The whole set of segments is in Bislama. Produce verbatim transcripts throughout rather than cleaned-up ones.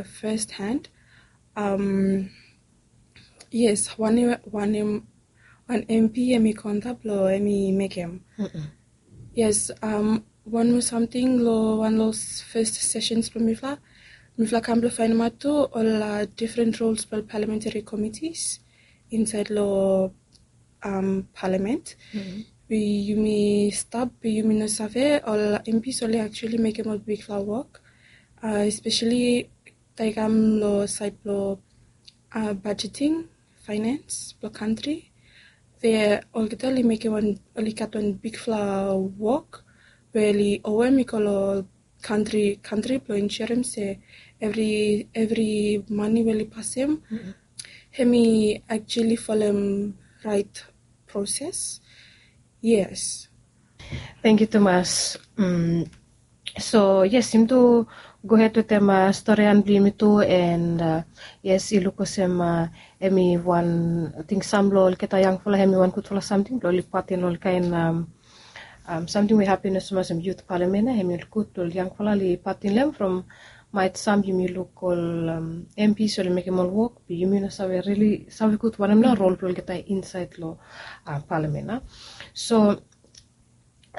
First hand, um, yes, wanem wanem wan M P em i konta blong em i mekem. Yes, um, wan moa samting long wan long first sessions blong mifala, mifala kam blong fainemaot tu ol uh, different roles blong parliamentary committees inside long um, parliament. Be yumi stap be yumi no save ol M Ps oli actually mekem ol bigfala wok, uh, especially tae i kam long sait blong uh, budgeting, finance blong kantri. Be olgeta oli mekem wan, oli gat wan bigfala wok we oli owem i go long kantri kantri blong insurem se evri evri mani we oli pasem hem i actually folem rait proses. Yes. Tangkiu tumas. So yes, yumi tu gohed wetem storian blong yumi tu, and yes, i luk olsem em i wan ting sam long olgeta yangfala em i wan gudfala samting blong oli patin long ol kain samting we hapen olsem yut palamen ya, em i ol gud blong ol yangfala oli patin long em from maet sam yumi luk ol M Ps oli mekem ol wok be yumi no save rili save gud wanem nao rol blong olgeta insaed long palamen ya. So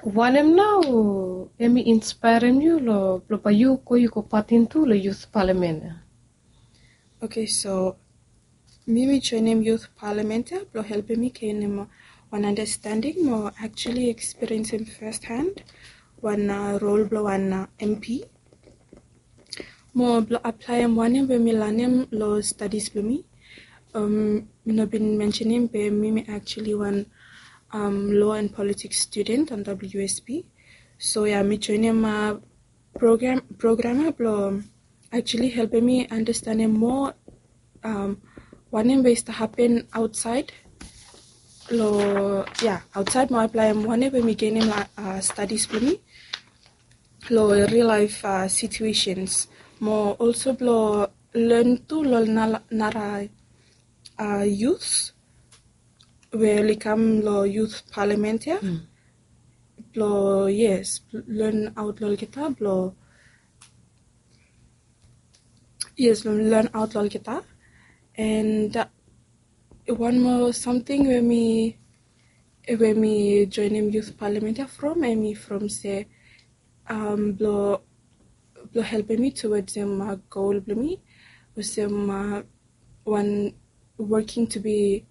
wanem nao em i inspaerem yu long blong bae yu go yu go patin tu long yut palamen ya? Oke, so mi mi joenem yut palamen ya blong helpem mi genem wan andastanding mo actually ekspiriensem firsthand wan rol blong wan M P mo blong aplaem wanem we mi lanem long stadis blong mi. Mi no bin mensenem be mi mi actually wan law and politics student on W S P. So ya mi joenem program program ya blong actually helpem mi andastanem moa wanem we i stap hapen aotsaed long ya aotsaed mo aplaem wanem we mi genem long stadis blong mi long real laef situations mo olso blong len tu long nara yut we oli kam long yut palamen ya blong yes len aot long olgeta blong yes len aot long olgeta. And wan moa samting we mi we mi joenem yut palamen ya from em i from se blong blong helpem mi tuwod olsem gol blong mi olsem wan working to be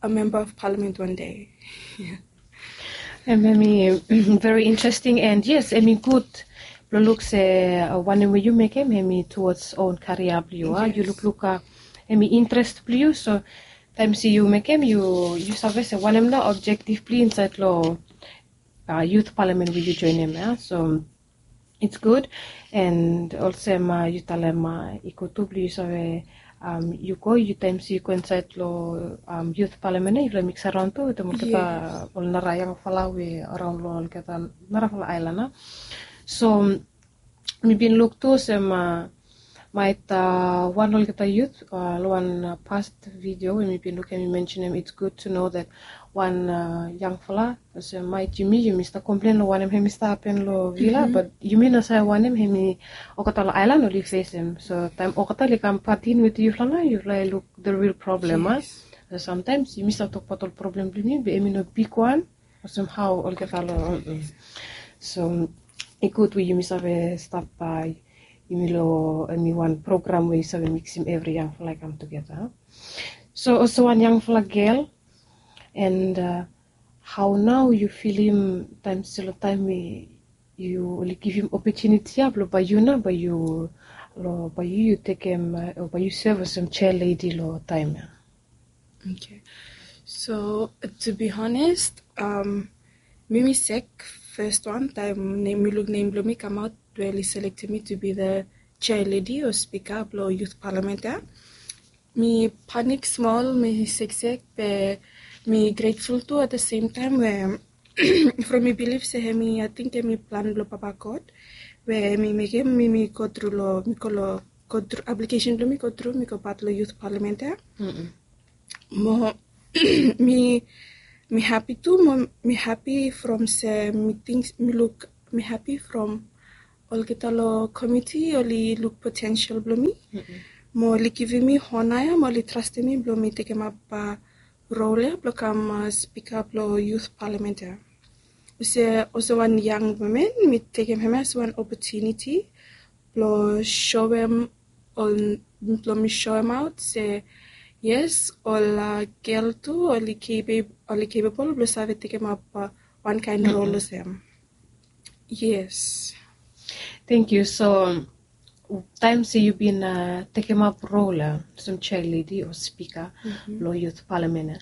a member of parliament one day. Em em i very interesting and yes em i gud blong luk se wanem we yu mekem em i tuwod on karia blong yu a yu lukluk em i interes blong yu. So taem se yu mekem yu yu save se wanem nao objektif blong yu insaed long yut palamen we yu joenem ya. So it's gud. And olsem yu talem i gud tu blong yu save yu go yu taem se yu go insaed long yut palamen ya yufala miksaraon tu wetem olgeta ol nara yangfala we araon long olgeta narafala aelan ya. So mi bin luk tu olsem maet wan olgeta yut long wan past video we mi bin luk em i mensenem it's gud tu no that wan yangfala olsem maet yumi yumi stap komplen long wanem hem i stap hapen long vila bat yumi no save wanem hem i olgeta long aelan oli fesem. So taem olgeta oli kam patin wetem yufala nao yufala i luk the real problem a. Samtaems yumi stap tokbaot ol problem blong yumi be em i no bigwan olsem hao olgeta long so i gud we yumi save stap yumi long em i wan program we yu save miksim evri yangfala i kam tugeta. So olsem wan yangfala gel and hao nao yu filim taem se long taem we yu oli givim opotuniti ya blong bae yu nao bae yu long bae yu yu tekem o bae yu sev olsem chair lady long taem ya? Oke. So to be honest, mi mi sek fes wan taem mi luk nem blong mi kamaot we oli selektem mi to be the chair lady o spika blong yut palamen ya. Mi panik smol mi seksek be mi gretful tu at the same taem we from mi bilif se hem i ating hem i plan blong papa god we hem i mekem mi mi go tru long mi go long go tru aplikesen blong mi go tru mi go pat long yut palamen ya. Mo mi mi hapi tu mo mi hapi from se mi ting mi luk mi hapi from Olgeta long komiti oli luk potensel blong mi, mo oli givim mi hona ya, mo oli trastem mi blong mi tekemap rol ya blong kam spika blong yut palamen ya. Olsem wan yang women, mi tekem hemia olsem wan opotuniti blong soem ol blong mi soemaot se yes, ol gel tu oli capable blong save tekemap wan kaen rol olsem. Yes. Thank you. So taem se yu bin tekemap rol ya olsem chair lady o spika long yut palamen ya,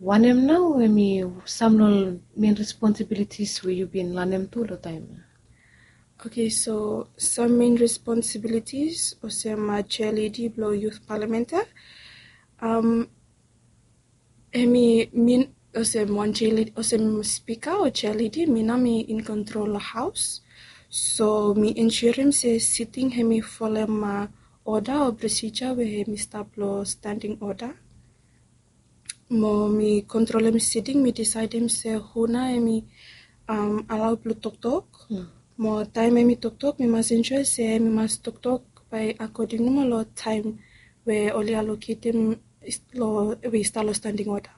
wanem nao hemi sam long ol main responsibilities we yu bin lanem tu long taem ya? Okay, so sam main responsibilities olsem chair lady blong yut palamen ya, hemi min olsem wan chair lady, olsem spika o chair lady, mi nao mi in kontrol long haos. So mi ensurem se siting hemi folem oda o prosija we hemi stap long standing oda. Mo mi kontrolem siting, mi disaedem se hu nao hemi alao blong toktok. Mo taem hemi toktok, mi mas ensua se mi mas toktok bae akoding nomo long taem we oli aloketem we i stap long standing oda.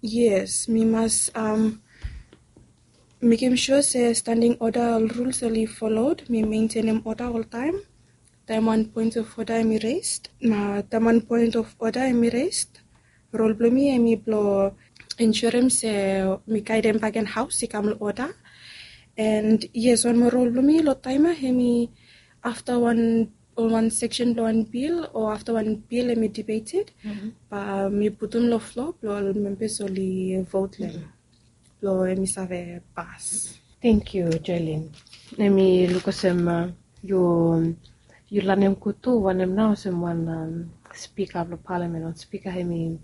Yes, mi mas mekem sua se standing oda ol ruls oli folod. Mi mentenem oda oltaem. Taem wan poen of oda hemi resed, na taem wan poen of oda hemi resed, rol blong mi hemi blong ensurem se mi gaedem bakegen haos i kam long oda. And yes, wan moa rol blong mi long taem ya hemi afta wan ol wan seksen blong wan bil o afta wan bil hemi debated, bae mi putum long floa blong ol membas oli vot long hem blong hemi save pas. Thank you, Joelin. Hemi luk olsem yu lanem gud tu wanem nao olsem wan spika blong palamen o spika hemi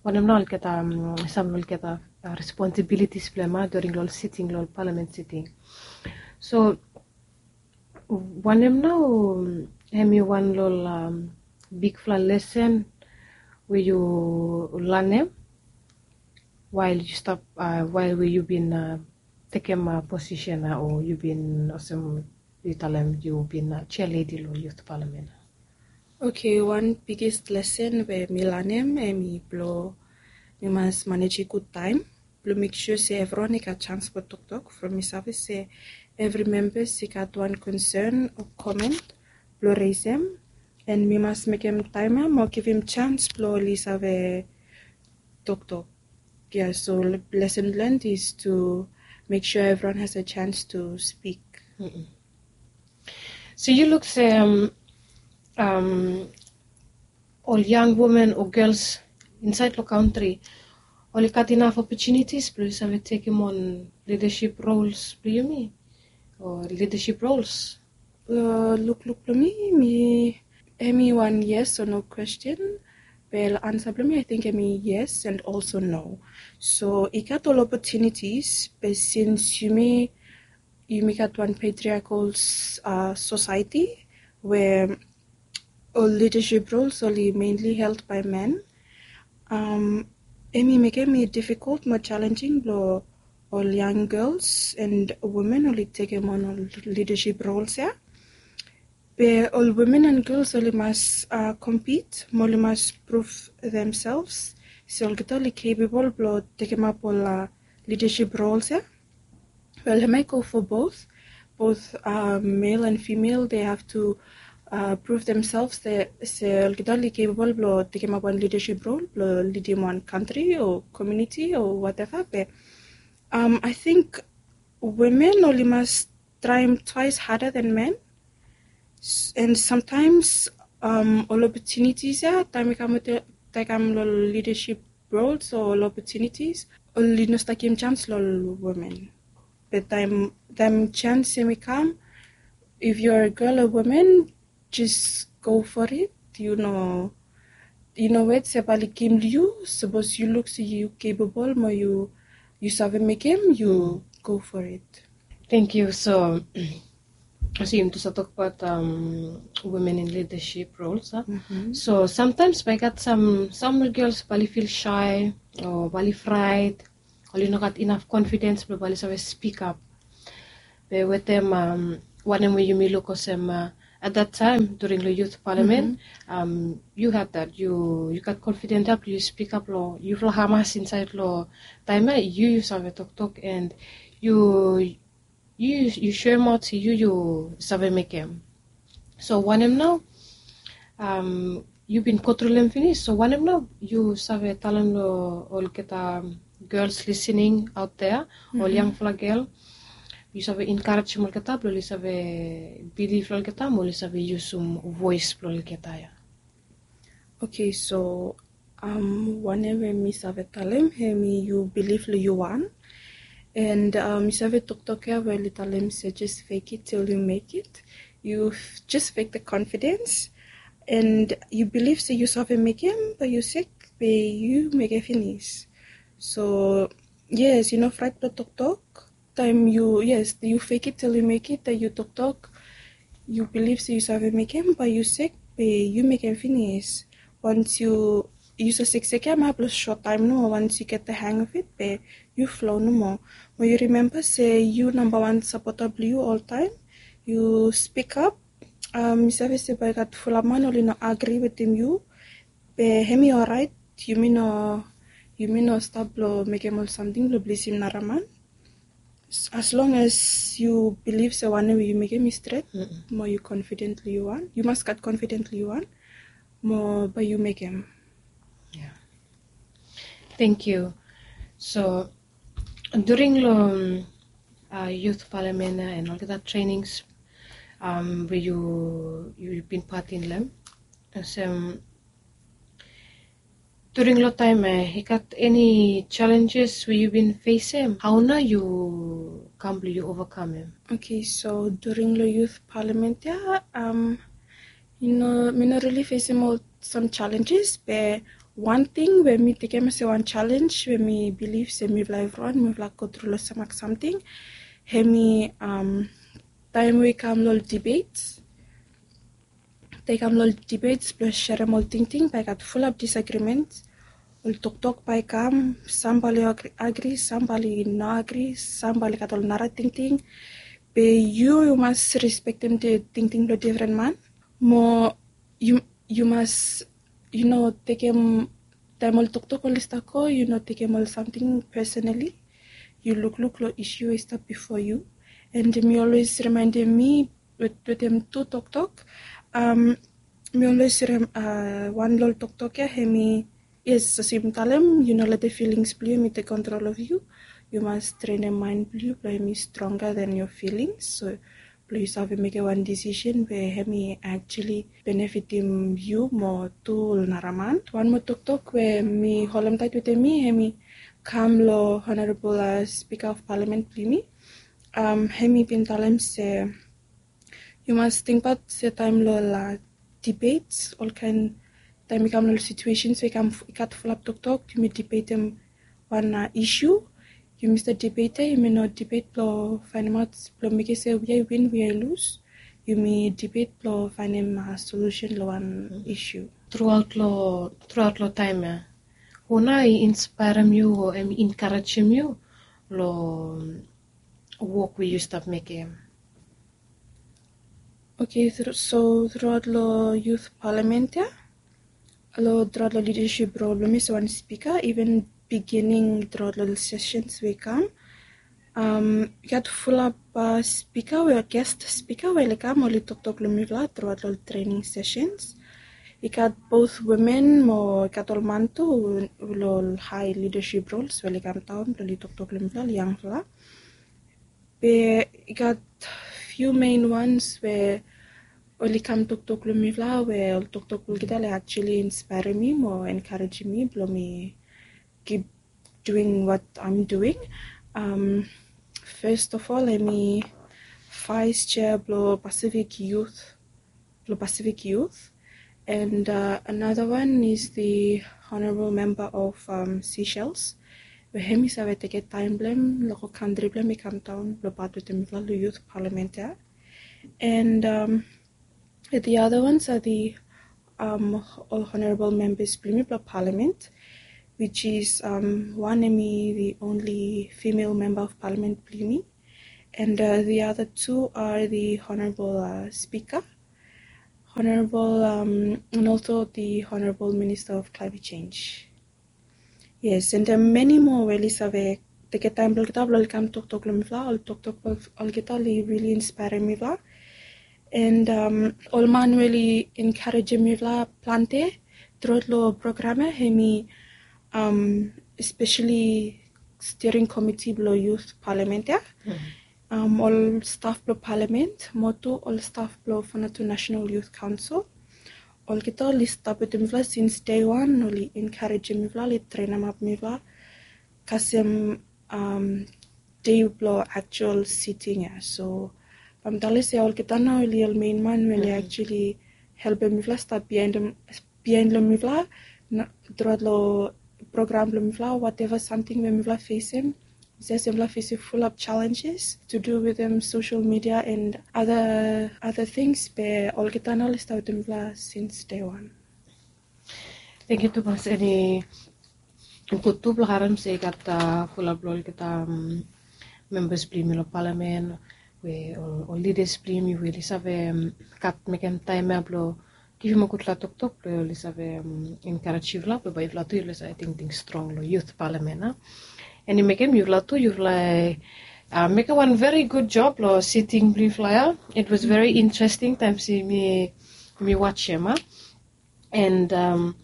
wanem nao olgeta sam long olgeta responsibilities blong hem during long ol siting, long ol palamen siting. So wanem nao hemi wan long ol bigfala lesen we yu lanem wael yu stap, wael we yu bin tekem posisen ya o yu bin olsem yu talem yu bin chair lady long yut palamen ya? Okay, wan biges lesen we mi lanem hemi blong mi mas manejem gud taem blong mek sua se evriwan i gat janis blong toktok from mi save se evri membas i gat wan konsen o komen blong resem. And mi mas mekem taem ya mo givim janis blong oli save toktok. Yeah, so lesson learned is to make sure everyone has a chance to speak. So yu luk se um, um, ol yang women o gels insaed long kantri oli gat inaf opportunities blong yu save tekem on leadership roles blong yumi o leadership roles? Lukluk blong mi, mi hemi wan yes o no kwesten. Be long ansa blong mi, ating hemi yes and also no. So i gat ol opportunities, be sins yumi yumi gat wan patriarchal uh, society we ol leadership roles oli mainly held by men. Um, hemi mekem i difficult mo challenging blong ol young girls and women oli tekem on ol leadership roles ya. Be ol women and girls oli mas uh, compete mo oli mas prove themselves se olgeta oli capable blong tekemap ol uh, leadership roles ya. Well, hemia i go for both. Both uh, male and female, they have to uh, prove themselves se olgeta oli capable blong tekemap wan leadership role blong lidim wan kantri o komuniti o whatever. Be um, I think women oli mas traem twice harder than men. And sometimes um, ol opportunities ya taem i kam long leadership roles o ol opportunities, oli no stap givim chance long ol women. Be taem taem chance hemi kam, if you're a girl or woman, just go for it. You know, you know wet se bae oli givim long yu, sapos yu luk se yu capable mo yu yu save mekem, yu go for it. Thank you. So so yumi tu save tokbaot um, women in leadership roles uh. Mm -hmm. So sometimes bae i gat some some girls bae oli feel shy o bae oli fright, oli no gat enough confidence blong bae oli save speak up. Be wetem wanem we yumi luk olsem, at that time during lo youth parliament, yu had that, yu gat confident ya blong yu spikap lo yufala hamas insaed lo taem ya, yu yu save toktok and yu yu yu soemaot se yu yu save mekem. So wanem nao, yu bin go tru lo hem finis, so wanem nao yu save talem lo olgeta girls listening out there, ol yangfala gel, yu save enkarejem olgeta blong oli save bilif lo olgeta mo oli save yusum voes blo olgeta ya? Okay, so wanem we mi save talem hemi yu bilif lo yu wan. And mi save toktok ya we oli talem se just fake it till you make it. You just fake the confidence. And yu bilif se yu save mekem, be yu sek be yu mekem finis. So yes, yu no fraet blo toktok. Taem yu, yes, yu fake it till you make it, taem yu toktok, yu bilif se yu save mekem, bae yu sek be yu mekem finis. Wans yu yu save seksek ya ma blo sot taem nomo, wans yu get the hang of it be yu flo nomo. Mo yu rimemba se yu nambawan sapota blo yu oltaem. Yu spikap. Mi save se bae i gat fulap man oli no agri wetem yu. Be hemi oraet, yumi no yumi no stap blo mekem ol samting blo blisim nara man. As long as yu bilif se wanem we yu mekem i stret, mo yu confidently yu wan, yu mas gat confidently yu wan, mo bae yu mekem. Thank you. So during lo youth parliament ya and olgeta trainings we yu yu bin patin lo hem, olsem during lo taem ya i gat eni challenges we yu bin fesem? Hao nao yu kam blo yu ovakamem? Okay, so during lo youth parliament ya, mi no mi no rili fesem ol sam challenges, be wan ting we mi tekem olsem wan challenge we mi bilif se mifala evriwan mifala go tru lo sam samting, hemi taem we i kam lo ol debates. Taem i kam lo ol debates blo serem ol tingting, bae i gat fulap disagreement. Ol toktok bae i kam, sam bae oli agri, sam bae oli no agri, sam bae oli gat ol nara tingting. Be yu yu mas respektem tingting blo difren man. Mo yu yu mas yu no tekem, taem ol toktok oli stap go, yu no tekem ol samting personally. Yu lukluk lo isu we i stap bifo yu. And mi olwes rimaendem mi wetem tu toktok. Mi olwes rem wan lo ol toktok ya hemi, yes, olsem mi talem, yu no letem filings blo yu hemi tek kontrol of yu. Yu mas trenem maen blo yu blo hemi stronga than your feelings. So blo yu save mekem wan disisen we hemi actually benefitim yu mo tu ol nara man. Wan moa toktok we mi holem taet wetem mi hemi kam lo Honorable Speaker of Parliament blo yumi. Hemi bin talem se yu mas tingbaot se taem lo ol debates, olkaen taem i kam lo ol situations we i gat fulap toktok, yumi debatem wan isu. Yumi stap debate ya, yumi no debate blo faenemaot blo mekem se we i win we i lus. Yumi debate blo faenem solusen lo wan isu. Truaot lo truaot lo taem ya, hu nao i inspaerem yu o hemi enkarejem yu lo wok we yu stap mekem? Okay, so truaot lo youth parliament ya, lo truaot lo lidasip rol blo mi olsem wan spika, iven bigining truaot lo ol sesens we i kam, i gat fulap spika we ol gest spika we oli kam oli toktok lo mifala truaot lo ol trening sesens. I gat both wimen mo i gat ol man tu lo ol hae lidasip rols we oli kamdaon blo oli toktok lo mifala ol yangfala. Be i gat fiu mein wans we oli kam toktok lo mifala we ol toktok blo olgeta oli actually inspaerem mi mo enkarejem mi blo mi kip duing wat aem duing. Fes of ol hemi vaes jea blo Pacific Youth, blo Pacific Youth. And another one is the Honorable Member of Seychelles, we hemi save tekem taem blo hem lo go kantri blo hem i kamdaon blo pat wetem mifala lo youth parliament ya. And the other ones are the ol honorable members blo yumi blo parliament, which is wan hemi the only female member of parliament blo yumi. And uh, the other two are the Honorable uh, Speaker, Honorable, um, and also the Honorable Minister of Climate Change. Yes, and uh, many more we oli save teke taem blong olgeta blong oli kam toktok long mifala. Ol toktok blong olgeta oli really inspire mifala. And um, ol man we oli encourage mifala plante throughout long program ya, hemi um, especially steering committee blong youth parliament ya. Um, ol staff blong parliament mo tu ol staff blong Vanuatu National Youth Council. Olgeta oli stap wetem mifala since day one, oli encourage mifala, oli trenem ap mifala kasem um, day blong actual sitting ya. So bae mi talem se olgeta nao oli ol main man we oli actually helpem mifala stap bihaen long mifala throughout long program blong mifala, whatever samting we mifala fesem. Yes, mifala fesem fulap challenges to do wetem social media and other other things, be olgeta nao oli stap wetem mifala since day one. Thank you tumas. Eni gud tu blong harem se i gat fulap blong olgeta members blong yumi long palamen we ol leaders blong yumi we oli save gat mekem taem ya blong givim ol gudfala toktok blong oli save encourage yufala blong bae yufala tu yufala save tingting strong long youth palamen ya. And i mekem yufala tu yufala mekem wan very good job long sitting blong yufala ya. It was very interesting taem se mi mi wajem ya. And um,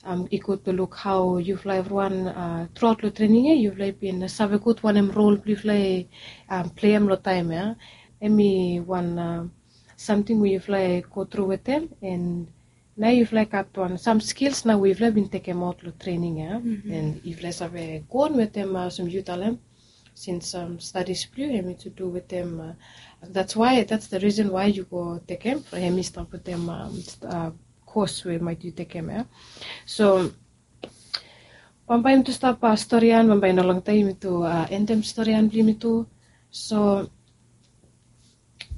um, i gud blong luk hao yufala evriwan uh, truaot long trening ya yufala i bin save gud wanem rol blong yufala i um, pleim long taem ya. Hemi wan uh, samting we yufala i go tru wetem and nao yufala i gat wan sam skils nao we yufala i bin tekemaot long trening ya. And yufala i save go on wetem uh, olsem yu talem since um, studies blong yu hemi to do wetem uh, that's why that's the reason why yu go tekem hemi stap wetem um, uh, course we maet yu tekem ya. So bambae yumi tu stap uh, storian bambae no longtaem yumi tu uh, endem storian blong yumi tu. So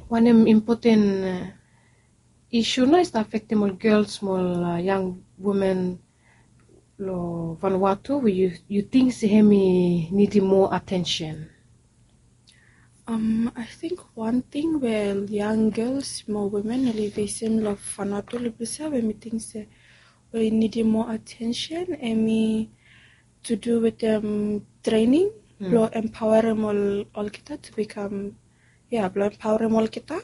wanem impoten uh, isu nao i stap afektem ol gels mo ol uh, yang women long Vanuatu we yu ting se hemi nidim moa atensen? Um, I think one thing we ol yang gels mo women oli fesem long Vanuatu long ples ya we mi ting se we i nidim moa atensen hemi to do wetem trening blong empaorem ol olgeta to become ya blong empaorem olgeta.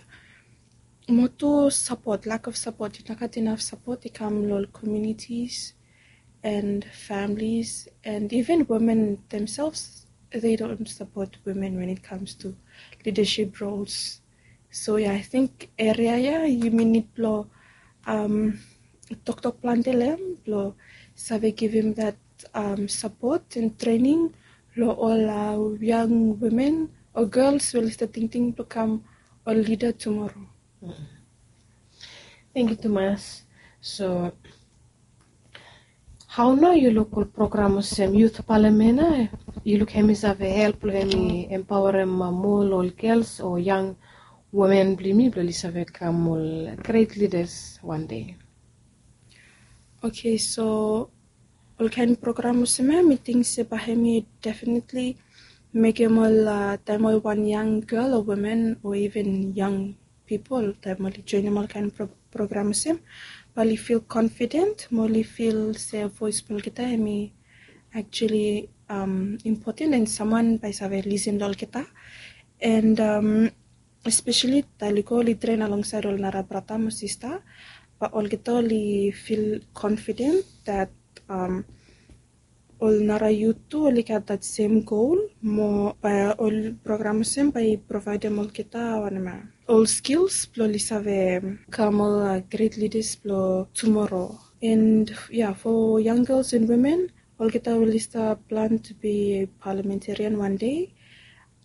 Mo tu sapot, lack of sapot, i no gat inaf sapot i kam long ol communities and families and even women themselves, they don't support women when it comes to leadership roles. So ya, I think eria ya yumi nid blong um, toktok plante long hem blong save givim that um, sapot and trening long ol uh, yang women o gels we oli stap tingting blong kam ol lida tumoro. Thank you tumas. So hao nao yu luk ol program olsem youth palamen ya, yu luk hemi save help long hemi empaorem moa long ol gels o yang women blong yumi blong oli save kam ol great leaders wan dei? Okay, so olkaen program olsem ya mi ting se bae hemi definitely mekem ol uh, taem ol wan yang gel o women o even yang pipol taem oli joenem olkaen program olsem, bae oli fil confident mo oli fil se voes blong olgeta hemi actually um, impoten and samwan bae i save lisin long olgeta. And um, especially taem oli go oli tren alongsaed ol nara brata mo sista, bae olgeta oli fil confident that um, ol nara yut tu oli gat that same goal mo bae ol program olsem bae i provaedem olgeta wanem ya, ol skils blong oli save kam ol uh, great leaders blong tumoro. And ya, for young girls and women, olgeta we oli stap plan to be parliamentarian wan dei,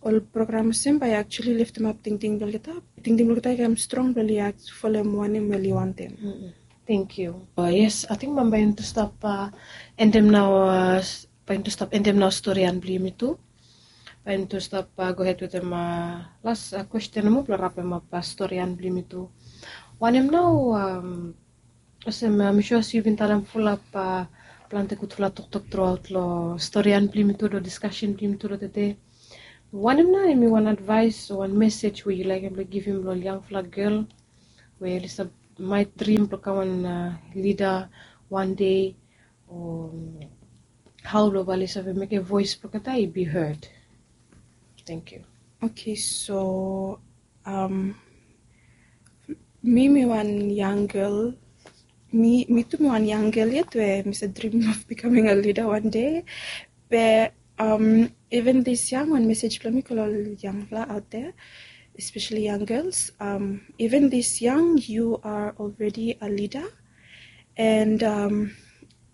ol program olsem bae i actually leftemap tingting blong olgeta, tingting blong olgeta i kam strong blong oli folem wanem we oli wantem. Thank you. Yes, ating bambae yumi tu stap endem nao bae yumi tu stap endem nao storian blong yumi tu. Bae yumi tu stap gohed wetem las kwesten nomo blong rapemap storian blong yumi tu. Wanem nao olsem mi sua se yu bin talem fulap plante gudfala toktok truaot long storian blong yumi tu long diskasen blong yumi tu long tede. Wanem nao hemi wan advaes o wan mesej we yu laekem blong givim long ol yangfala gel we oli stap maet drim blong kam wan lida wan dei, o hao blong bae oli save mekem voes blong olgeta i be heard? Thank you. Okay, so um, mi mi wan yang gel. Mi mi tu mi wan yang gel yet we mi stap drim of becoming a leader wan dei. Be um, even this young, wan mesej blong mi go long ol yangfala out there, especially young girls. Um, even this young, you are already a leader. And um,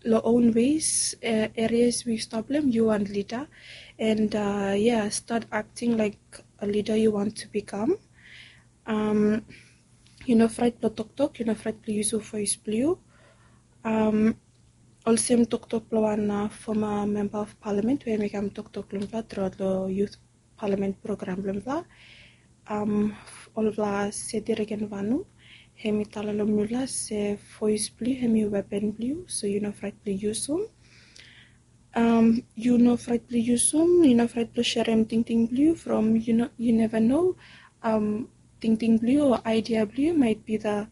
long own ways, uh, areas we stop them, you want leader. And uh, yeah, start acting like a leader you want to become. Um, yu no fraet blong toktok, yu no fraet blong yusum voes blong yu. Um, olsem toktok blong wan uh, former member of parliament we mekem toktok long mifala throughout long youth parliament program blong mifala. Um, olfala Seti Regen Vanu, hemi talem long mifala se voes blong yu hemi weapon blong yu, so yu no fraet blong yusum. Um, yu no fraet blong yusum, yu no fraet blong serem tingting blong yu from yu no, yu never know. Um, tingting blong yu o idea blong yu might be the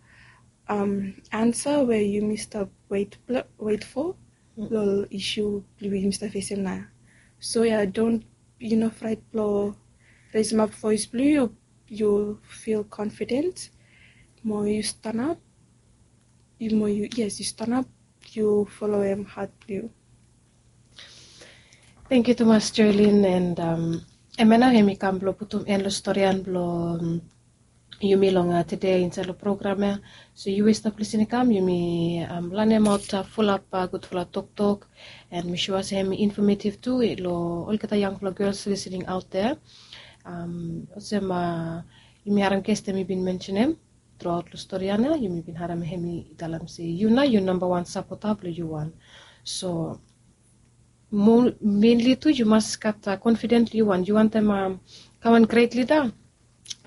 um, answer we yumi stap wet, wet for long ol issue blong yumi stap facem nao. So yeah, don't, yu no fraet blong resemap voes blong yu, yu feel confident. Mo yu stanap, yu mo yu, yes, yu stanap, yu folem hat blong yu. Thank you tumas Joelin, and um, hemia nao hemi kam blong putum en long storian blong um, yumi long uh, tede insaed long program ya. So yu we stap lisin i kam, yumi um, lanemaot uh, fulap uh, gudfala toktok, and mi sua se hemi informative tu long olgeta yangfala girls listening out there. Um, olsem uh, yumi harem ges hemi bin mensenem throughout long storian ya, yumi bin harem hemi talem se yu nao yu namba wan sapota blong yu wan. So mainly tu yu mas gat confident long yu wan, yu wantem kam wan great leader.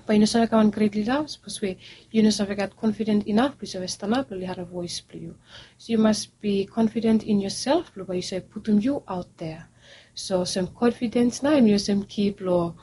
Bae yu no save kam wan great leader sapos we yu no save gat confident inaf blong yu save stanap blong oli harem voes blong yu. So yu mas be confident in yourself blong bae yu save putum yu out there. So olsem confidence nao hemi olsem ki blong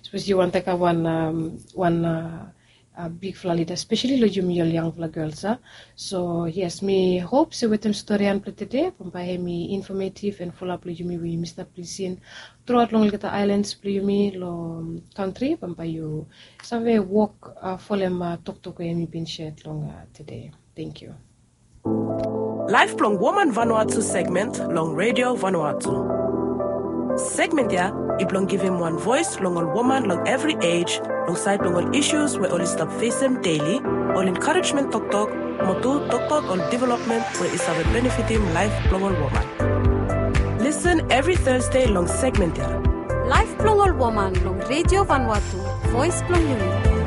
sapos yu wantem kam wan um, wan uh, uh, bigfala leader, especially long yumi ol yangfala girls a. So yes, mi hop se wetem storian blong tede bambae hemi informative and fulap long yumi we yumi stap lisin throughout long olgeta islands blong yumi long kantri, bambae yu save wok uh, folem uh, toktok we hemi bin shared long uh, tede. Thank you. Laef blong Woman Vanuatu segment long Radio Vanuatu. Segment ya i blong givim wan voes long ol woman long evri ej, long saed blong ol issues we oli stap fesem daily, ol encouragement toktok, mo tu toktok ol development we i save benefitim laef blong ol woman. Lisin evri Thursday long segment ya. Laef blong ol woman long Radio Vanuatu, voes blong yumi.